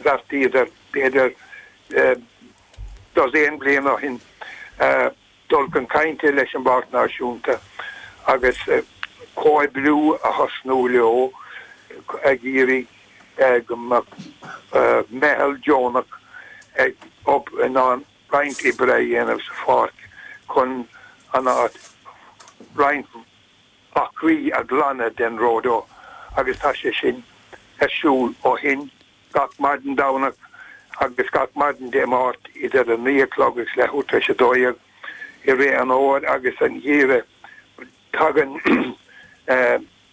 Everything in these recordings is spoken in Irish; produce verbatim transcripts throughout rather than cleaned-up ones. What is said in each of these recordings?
Bheartaíodar b'fhéidir dosaen bliain ó shin dul chun cainte leis an bPáirc Náisiúnta agus comhoibriú a thosnú leo ag iarraidh go mbeadh meitheal deonach ag in ann roinnt oibre a dhéanamh sa pháirc chun an áit roinnt acraí a ghlanadh den ródó agus tá sé sin ar siúl ó shin gach maidin Domhnach agus gach maidin Dé Máirt idir a naoi a chlog agus leathuair tar éis a dó dhéag i rith an fhómhair agus an gheimhridh. Tagann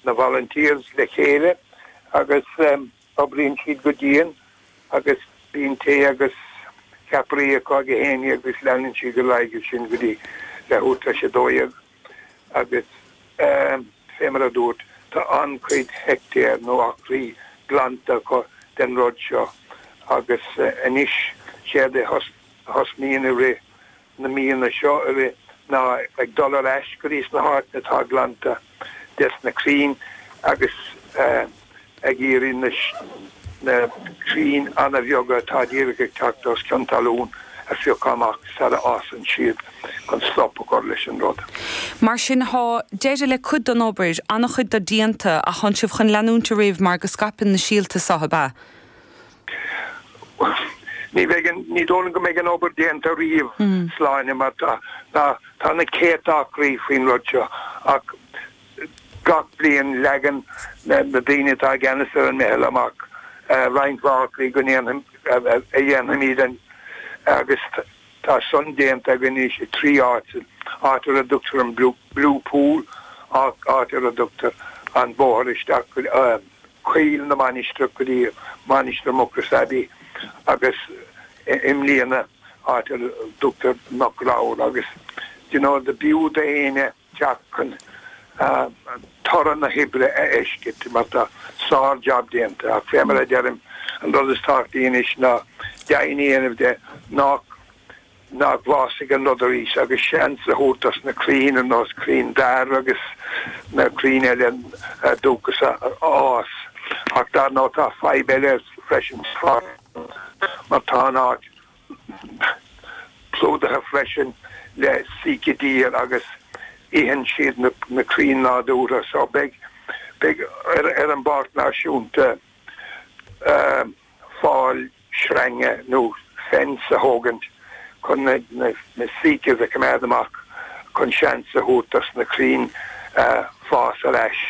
na volunteers le chéile agus oibríonn siad go dian agus bíonn tae agus ceapairí acu ag a haon déag agus leanann siad ar aghaidh ansin go dtí leathuair tar éis a dó dhéag agus fé mar a dúirt tá an-chuid heictéar nó acraí glanta acu den rud seo agus anois séard a thosnaíonn i rith na míonna seo i rith ná ag dul ar ais go dtí sna háiteanna atá glanta des na crainn agus ag iarraidh na na crainn an-bheaga atá díreach ag teacht os cionn talún a phiocadh amach sara fhásann siad chun stop a chur leis an rud. Mar sin tá deireadh le cuid den obair, an-chuid de déanta ach tá sibh chun leanúint ar aghaidh mar go scaipeann na síolta seo ab ea? Ní bheidh an, ní dóigh liom go mbeidh an obair déanta riamh, Sláine, mar tá, tá, tá na céadta acraí faoin rud seo ach gach bliain leagann na daoine atá i gceannas ar an meitheal amach roinnt mhaith acraí go ndéanfaidh, a dhéanfaimid an, agus tá san déanta againn anois i trí áit, áit ar a dtugtar an Blue Pool, áit ar a dtugtar an bóthar isteach go Coill na Mainistreach go dtí Mainistir Mucrois Abbey agus i mbliana áit ar a dtugtar Cnoc Ramhar agus you know do b'fhiú d'éinne teacht chun toradh na hoibre a fheiscint mar tá sár-jab déanta ach fé mar a deirim an rud is tábhachtaí anois ná deimhin a dhéanamh de nach nach bhfásfaidh an rud arís agus seans a thabhairt dos na crainn ar nós crainn dair agus na crainn eile dúchasacha a fhás. Ach dar ndóigh tá fadhb eile freisin mar tá an áit plódaithe freisin le sika deer agus itheann siad na na crainn nádúrtha so beidh beidh ar ar an bPáirc Náisiúnta fál sreinge nó fence a thógaint chun na na na sikas a choimeád amach chun seans a thabhairt dos na crainn fás ar ais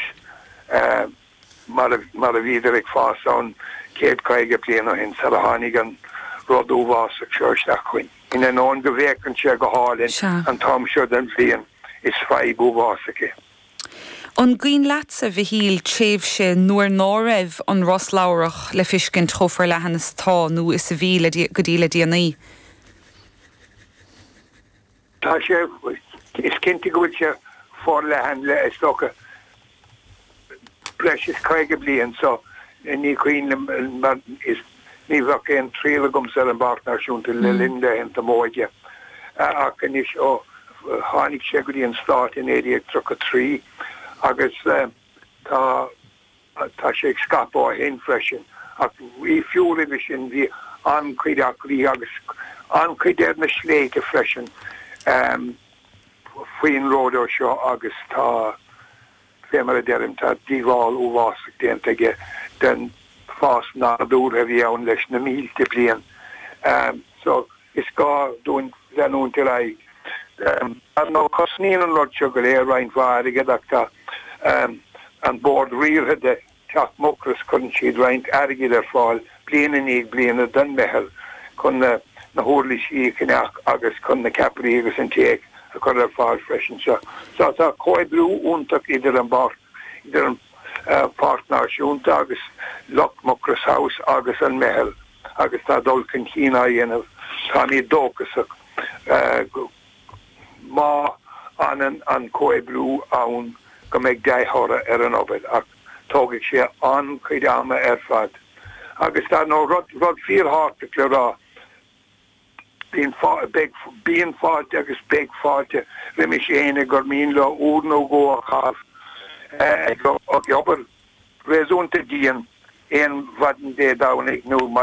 mar a mar a bhíodar ag fás ann céad caoga bliain ó shin sar a tháinig an rud uafásach seo isteach chugainn. In ainneoin go bhféachann sé go hálainn an t-am seo den bhliain, is fadhb uafásach é. An gcuimhin leatsa, a Mhichíl, tréimhse nuair ná raibh an ros ladhrach le fiscint chomh forleathan is atá nó is a bhí le go dtí le déanaí? Tá sé, is cinnte go bhfuil sé forleathan le, is dócha, breis is caoga bliain so ní cuimhin liom mar is ní bheadh aon triall agamsa ar an bPáirc Náisiúnta le linn laethanta m'óige ach anois ó tháinig sé go dtí an Stát i naoi déag tríocha trí agus tá tá sé ag scaipeadh ó shin freisin ach bhí fiú roimhe sin bhí an-chuid acraí agus an-chuid ar na sléibhte freisin faoin ródó seo agus tá fé mar a deirim, tá díobháil uafásach déanta aige den fás nádúrtha a bhí ann leis na mílte bliain. So, is gá dúinn leanúint ar aghaidh. Ar ndóigh, cosnaíonn an rud seo go léir roinnt mhaith airgid ach tá an Bord Riartha de Teach Mucrois, cuireann siad roinnt airgid ar fáil bliain i ndiaidh bliana don meitheal chun na na huirlisí a cheannach agus chun na ceapairí agus an tae a chur ar fáil freisin. So tá comhoibriú iontach idir an bPáirc, idir an Pháirc Náisiúnta agus lucht Mucrois House agus an meitheal agus tá dul chun cinn á dhéanamh. Táimid dóchasach go má fhanann an comhoibriú ann go mbeidh dea-thoradh ar an obair ach tógfaidh sé an-chuid ama ar fad. Agus dar ndóigh rud, rud fíorthábhachtach le rá, Bíonn beidh, bíonn fáilte agus beidh fáilte roimis éinne gur mian leo uair nó dhó a chaitheamh ag obair réasúnta dian aon mhaidin Dé Domhnaigh nó maidin